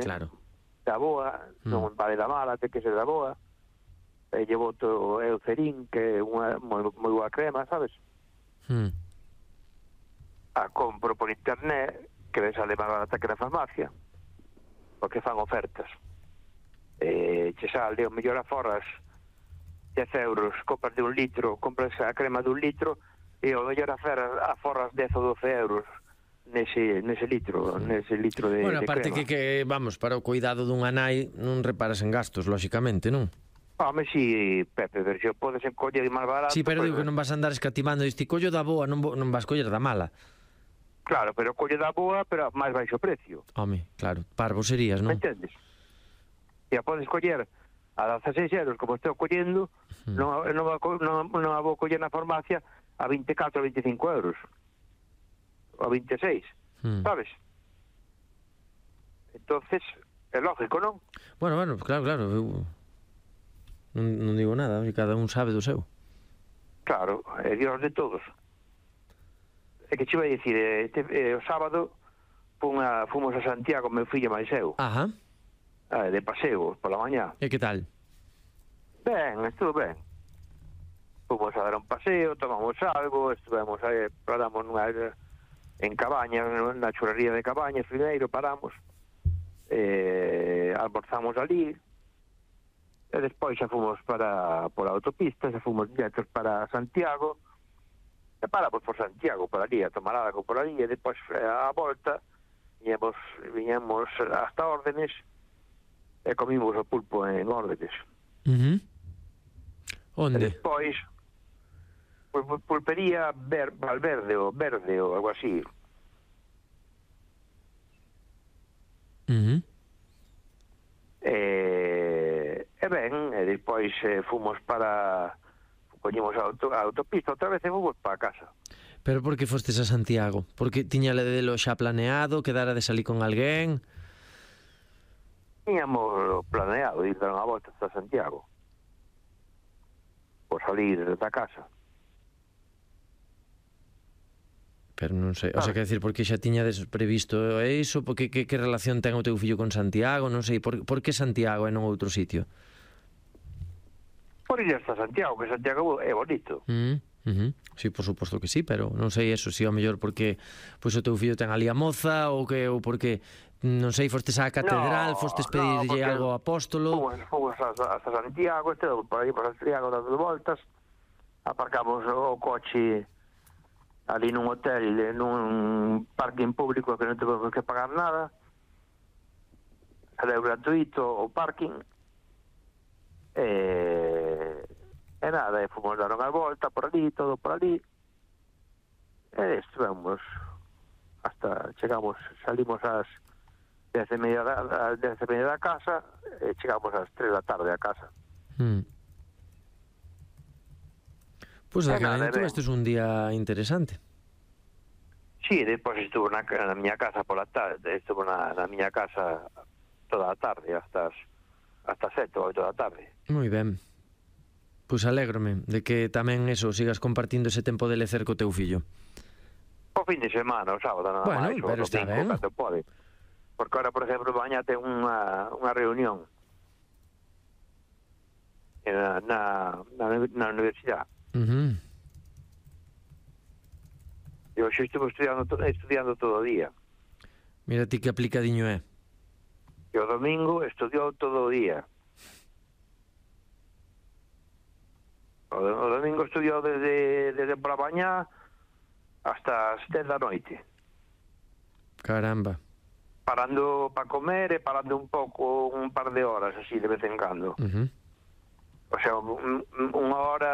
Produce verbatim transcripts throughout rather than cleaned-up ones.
claro. da boa, mm. non vale da mala, ten que ser da boa. E llevo o Eucerin, que é unha moi, moi boa crema, sabes? Mm. A compro por internet, que me sale máis barata que na farmacia, porque fan ofertas. Eh, che sale o mellor a forras dez euros, compras de un litro, compras a crema de un litro, e o mellor a, ferras, a forras dez ou doce euros nese, nese litro, nese litro de, bueno, de aparte crema. que, que, vamos, para o cuidado dunha nai non reparas en gastos, lóxicamente, non? Home, si, Pepe, pero se podes encoller máis barato... Si, sí, pero pues, digo que non vas a andar escatimando, diste collo da boa, non, non vas coller da mala. Claro, pero colle da boa, pero máis baixo precio. Home, claro, parvo serías, non? Me entendes? E a podes coller a dezaseis euros, como estou collendo, mm. non, non, non, non a vou coller na farmacia a vinte e catro, vinte e cinco euros. Ou a vinte e seis, mm. sabes? Entonces, é lógico, non? Bueno, bueno, claro, claro, eu non, non digo nada, cada un sabe do seu. Claro, é Dios de todos. É que che vai dicir, este, eh, o sábado a, fomos a Santiago, meu fillo máis eu. Ajá. Eh, de paseo, pola mañá. E que tal? Ben, estuvo ben. Fomos a dar un paseo, tomamos algo, estuvemos aí, paramos nunha, en Cabaña, na churrería de Cabaña, primeiro paramos, eh, almorzamos ali, e despois xa fomos para por a autopista, xa fomos directos para Santiago, e paramos por Santiago, por ali, a tomar algo por ali, e despois a volta, viñemos, viñemos hasta Órdenes, e comimos o pulpo en Órdenes. Uh-huh. Onde? E despois, pulpería ver, Valverde ou Verde ou algo así. Uh-huh. E, e ben, e despois eh, fomos para... Coñimos a, auto, a autopista, outra vez e fomos para casa. Pero por que fostes a Santiago? Porque tiña ledelo xa planeado, quedara de salir con alguén? Tiñamos planeado ir dar unha volta hasta Santiago. Por salir da casa. Pero non sei, o sea, que decir, porque xa tiñades previsto iso, porque que, que relación ten o teu fillo con Santiago, non sei, por, por que Santiago e non outro sitio? Por ir hasta Santiago, que Santiago é bonito. Mm, uh-huh. Sí, por suposto que sí, pero non sei eso, si ao mellor porque pois o teu fillo ten ali a moza, ou que ou porque, non sei, fostes á catedral, no, fostes pedirlle no, algo ao apóstolo. Fomos, fomos hasta, hasta Santiago, este, por aí por Santiago dando voltas, aparcamos o coche ali nun hotel, nun parking público que non temos que pagar nada, era gratuito o parking, e, e nada, e fomos dar unha volta por ali, todo por ali, e estivemos hasta, chegamos, salimos ás dez e media da, dez e media da casa, e chegamos ás tres da tarde a casa. Hmm. Pois pues aquel año este es un día interesante. Sí, despois estuvo na, na miña casa pola tarde, estuvo na, na miña casa toda a tarde, hasta as, hasta sete ou oito da tarde. Moi ben. Pois pues alégrome de que tamén eso, sigas compartindo ese tempo de lecer co teu fillo. O fin de semana, o sábado, nada bueno, máis, o pero está ben. Cando pode. Porque ahora, por exemplo, mañá ten unha, unha reunión na, na, na, na universidade. Uh-huh. Eu xa estuve estudiando, estudiando todo o día. Mira ti que aplicadiño é. E o domingo estudiou todo o día. O, o domingo estudiou desde, desde por a mañá hasta as dez da noite. Caramba. Parando para comer e parando un pouco, un par de horas, así, de vez en cando. Uh-huh. O sea, un, unha hora,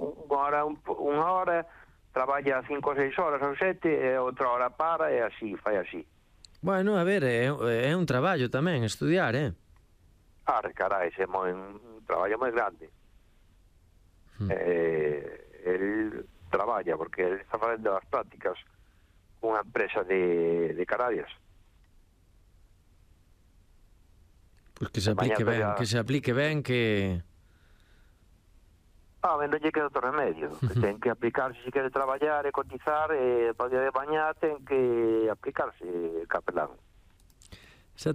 unha hora, unha hora, traballa cinco ou seis horas ou sete, e outra hora para, e así, fai así. Bueno, a ver, é, é un traballo tamén, estudiar, eh? Ah, carai, é moi, un traballo moi grande. Hmm. Eh, el traballa, porque ele está facendo as prácticas cunha empresa de, de Canarias. Pois pues que se aplique ben, ya... que se aplique ben, que... Ah, ben, non lle queda outro remedio. Que ten que aplicarse se quere traballar e cotizar, e para o día de mañá ten que aplicarse capelán. Exactamente.